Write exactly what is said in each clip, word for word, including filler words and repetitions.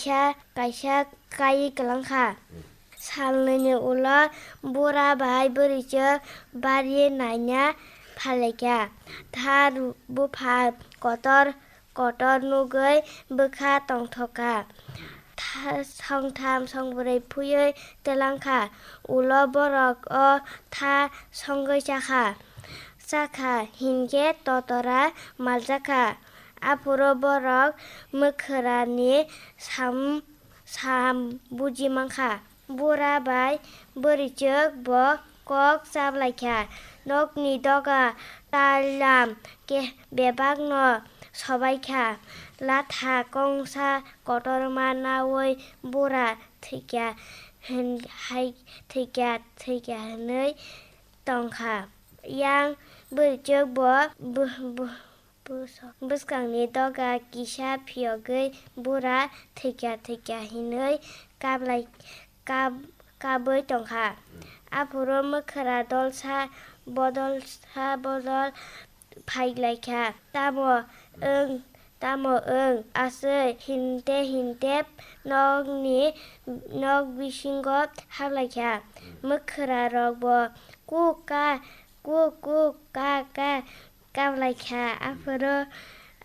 kaisa kaisa kaiwi kwlang kha. Salnwini ulo bura bai bwrwichwk barwi naina phailaikha. Tha bupha kotor kotor nugwi bwkha tongthokha. Tha-, songtham songbrwi phuiwi twlangkha. Ulo borok o tha songwi chakha. Chakha hinkhe totora maljakha. Aphuru borok mwkhwrani sam, sam buji mankha. Bura bai bwrwichwk bo kok chaplaikha. Nokni doga talam khe bebakno sobaikha. Latha kongsa kotorma naui bura thwikha hin-, hai thwikha, thwikha hwnwi tongkha. Yang bwrwichwk bo bu-, bu-, Bwswk-, bwskangni doga kisa phiyogwi bura thwikya thwikya hinwi kablai-, kab-, kabwi tongkha. Aphuru mwkhra dolsa bodolsa bodol phailaikha. Tamo wng, tamo wng, aswk hinte hinte nokni, nok bisingo hablaikha. Mwkhra rokbo kuk ka, kuk kuk ka ka Kablai kha, aphuru,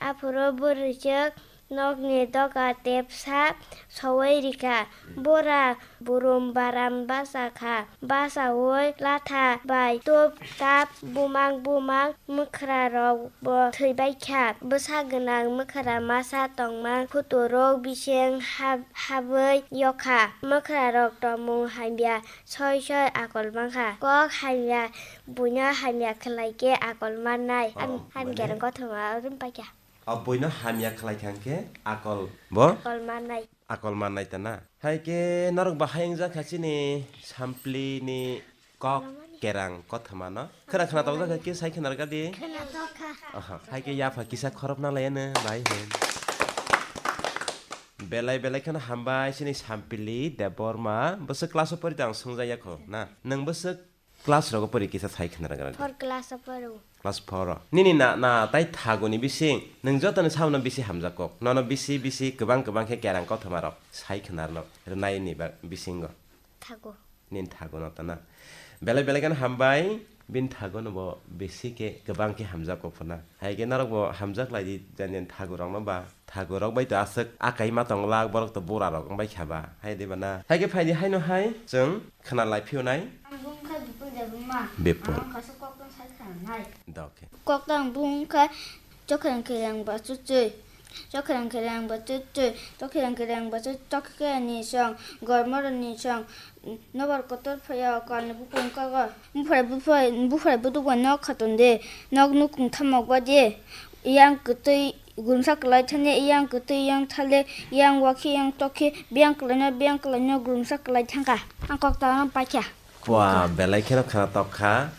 aphuru bwrwichwk nokni doga tepsa soui rikha. Bura burum baram bacha kha, bachaui latha bai tup tap bumang bumang mwkhra rok bo thwibai kha. Bwsa gwnang mwkhra masa tongmang khuturuk bising hab-, habwi yokha. Mwkhra rok tongmung hamya soi soi akol mankha. Kok hamya buino hamya khlai khe akol mannai. Oh, ham-, hamya mane? Gereng kothoma rim paikha. O buino hamya khlai kha hwnkhe akol bo? Akol mannai. Akol mannai ta na? Hai khe norok bahai wngjak kha chini Samplini kok kerang kothoma no? Khwna khwna tokjak kha khe sai khwna rwgadi? Khwna tokha. Aha, hai khe yapha kisa khorop na laiya no bahai hwn. Belai belai kheno hambai chini Sampili Debbarma. Bwswk class o pori tong swngjak ya kho na? Nwng bwswk class rogo pori kisa sai khna rwgwlak. Four class o poro. Class four o. Nini na, na tai thaguni bising nwng jotoni sabono bisi hamjak kok. Nono bisi bisi kwbang kwbang khe kerang kothoma rok sai khna rwno rwnai ni ba bisingo. Thago. Nini thago no tana. Belai belai kheno hambai, bini thago no bo bisi khe kwbang khe hamjak kok phuna. Hai khe norok bo hamjak lai di jani jani thago rok no ba. Thago rok bai to aswk akai ma tong lak, borok to bura rok wng bai kha ba. Hai de ba na. Hai khe phai di haino hai chwng khna lai phio nai. Ang bung kha Bipul Debbarma. Bipul. Ang kaisa kok tang sai khna nai. Da, okay. Kok tang bung kha chokherang kherang ba chuchui. Chokherang kherang ba chuchui. Chokherang kherang ba chuchui. Chokhe ni song. Gormor ni song. Nobar kotor phaya kalni bukung kago. Bufrai bufrai bufrai buduk bai nok khaton de. Nok nukung thamok ba de. Yang kwtwi gurumsa kwlai thani, yang kwtwi, yang thale, yang wakhe, yang tokhe, biyang kwlaino, biyang kwlaino gurumsa kwlai thangkha. Ang kok tang paikha. Pua, belai kheno khwna tok kha.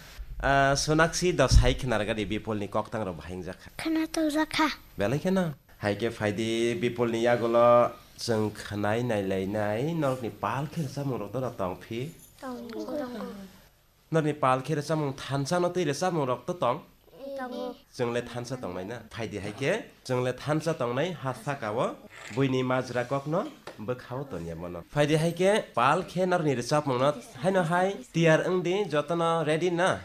Ah, Sonakshi do sai khwna rwgadi Bipulni koktang rok bahai wngjak kha. Khwna tokjak kha. Belai kheno. Hai khe phai di Bipulni yagulo chwng khwnai nai lai nai norokni pal khe rwchapmung rok do tong phi? Tongo. Norni pal khe rwchapmung thansa no twi rwchapmung rok to tong? Tongo. Chwng le thansa tongnai na? Phai di hai khe chwng le thansa tongnai ha saka o buini majra kok no bwkha o ton ya bono. Phai di hai khe pal khe norni rwchapmung no haino hai tiyar wng di, joto no ready na?